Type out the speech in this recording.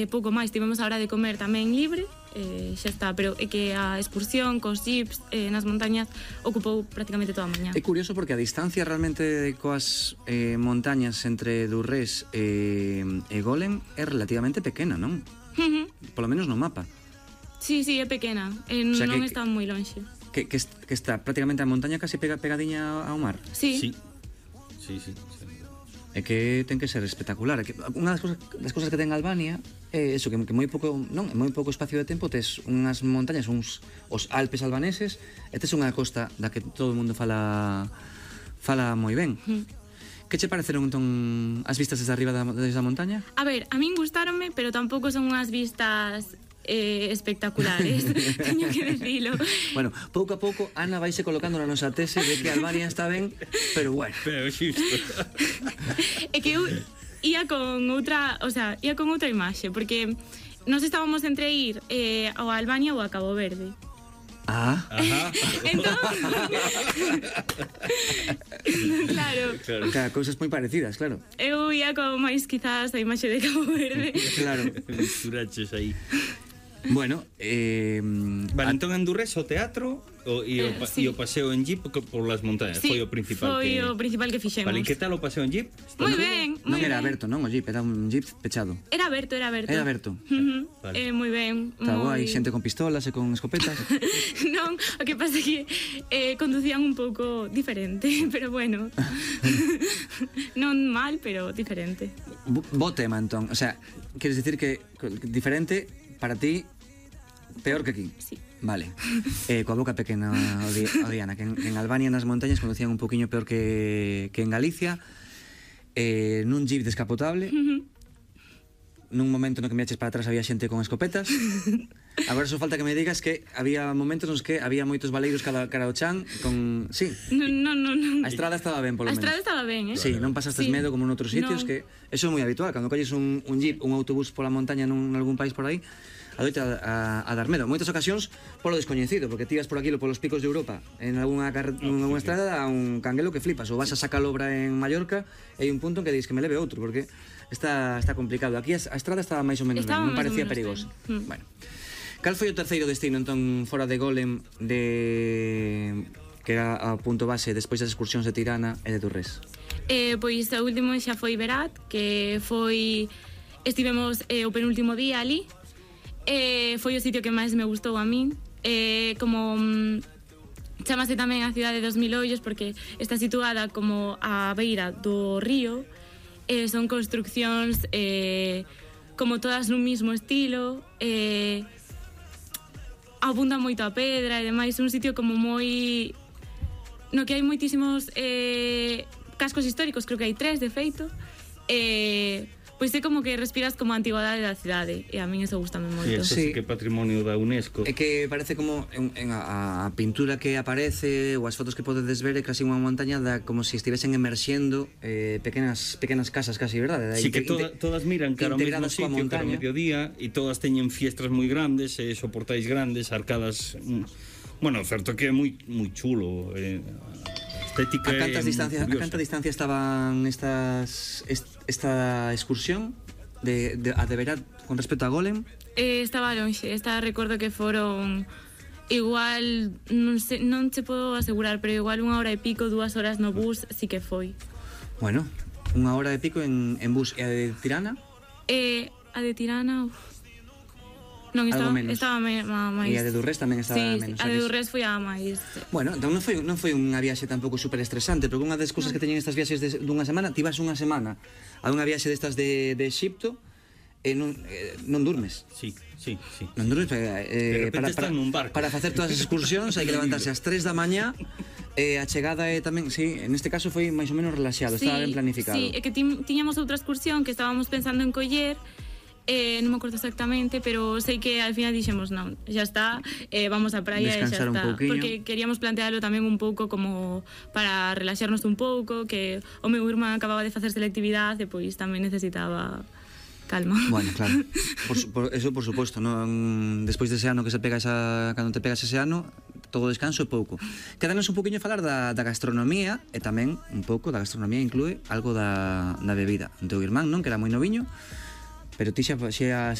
pouco máis, tivemos a hora de comer tamén libre, xa está, pero é que a excursión cos jeeps nas montañas ocupou prácticamente toda a mañá. É curioso porque a distancia realmente coas montañas entre Durrés e Golem é relativamente pequena, non? Polo menos no mapa. Sí, é pequena, non está moi lonxe. Que está prácticamente a montaña casi pegadiña ao mar. Sí. É que ten que ser espectacular. Unha das cousas que ten Albania é eso, que moi pouco espacio de tempo tes unhas montañas, os Alpes albaneses, e tes unha costa da que todo o mundo fala moi ben. Que che pareceron entón as vistas desde arriba desde a montaña? A ver, a min gustáronme, pero tampouco son unhas vistas espectaculares, teño que decilo. Bueno, pouco a pouco Ana vaise colocando na nosa tese de que Albania está ben, pero bueno. Pero xusto. É que eu ia con outra imaxe, porque nós estábamos entre ir ao Albania ou a Cabo Verde. Entón, claro, cousas moi parecidas, claro. Eu ia con máis quizás a imaxe de Cabo Verde. Claro, misturaches aí. Bueno, vale, entón en Durrés o teatro e o paseo en jeep por las montañas, foi o principal que fixemos. Vale, que tal o paseo en jeep? Moi ben, non era aberto, non, o jeep, era un jeep pechado. Era aberto. Vale. Moi ben. Está guai, xente con pistolas e con escopetas. Non, o que pasa é que conducían un pouco diferente, pero bueno. Non mal, pero diferente. Bo tema, entón, o sea, queres dicir que diferente para ti, peor que aquí? Sí. Vale. Coa boca pequena o Diana, que en Albania nas montañas conducían un poquinho peor que en Galicia, nun jeep descapotable, nun momento no que me eches para atrás había xente con escopetas. Agora só falta que me digas que había momentos nos que había moitos baleiros cara ao chan con... Sí. Non. A estrada estaba ben, polo menos. A estrada estaba ben, Sí, non pasastes medo como en outros sitios, que eso é moi habitual. Cando colles un jeep, un autobús pola montaña en algún país por aí, adoita a dar medo. Moitas ocasións polo descoñecido, porque tiras por aquí polos picos de Europa en algunha estrada a un canguelo que flipas, ou vas a Sacalobra en Mallorca e hai un punto en que dis que me leve outro, porque está complicado. Aquí a estrada estaba máis ou menos ben, non parecía perigosa. Bueno, cal foi o terceiro destino entón fora de Golem que era a punto base despois das excursións de Tirana e de Durrés? Pois o último xa foi Berat, que estivemos o penúltimo día ali. Foi o sitio que máis me gustou a min, como chamase tamén a cidade dos mil ollos porque está situada como a beira do río, son construccións como todas nun mismo estilo, abunda moito a pedra e demais, un sitio como moi no que hai moitísimos cascos históricos, creo que hai 3 de feito, pois é como que respiras como a antigüedade da cidade e a min eso gustame moito. Sí, que é patrimonio da UNESCO. É que parece como en a pintura que aparece ou as fotos que podedes ver é casi unha montaña como se estivesen emerxendo pequenas casas casi, verdade? Sí, que todas miran cara ao mesmo sitio, cara ao mediodía, e todas teñen fiestras moi grandes, soportais grandes, arcadas... Bueno, certo que é moi chulo, estética. A canta distancia estaban esta excursión de Berat con respecto a Golem? Estaba lonxe, recordo que foron igual, non se podo asegurar, pero igual 1 hora e pico, 2 horas no bus, sí que foi. Bueno, 1 hora e pico en bus. E a de Tirana? A de Tirana, non, estaba máis. E a de Durrés tamén estaba menos. Sí, a de Durrés foi a máis. Bueno, entón non foi unha viaxe tampouco super estresante, porque unha das cousas que teñen estas viaxes dunha semana, ti vas unha semana a unha viaxe destas de Exipto e non durmes. Sí. Non durmes, de repente están nun barco. Para facer todas as excursións hai que levantarse ás 3 da mañá, a chegada é tamén, sí, en este caso foi máis ou menos relaxado, estaba ben planificado. Sí, é que tiñamos outra excursión que estábamos pensando en coller, non me acordo exactamente, pero sei que al final dixemos non, xa está, vamos á praia e xa está, porque queríamos plantearlo tamén un pouco como para relaxarnos un pouco, que o meu irmán acababa de facer selectividade e pois tamén necesitaba calma. Bueno, claro, eso por suposto, non? Despois dese ano que se pega cando te pegas ese ano, todo descanso é pouco. Quédanos un poquinho a falar da gastronomía, e tamén un pouco da gastronomía inclúe algo da bebida. O teu irmán, non? Que era moi noviño, Pero ti xa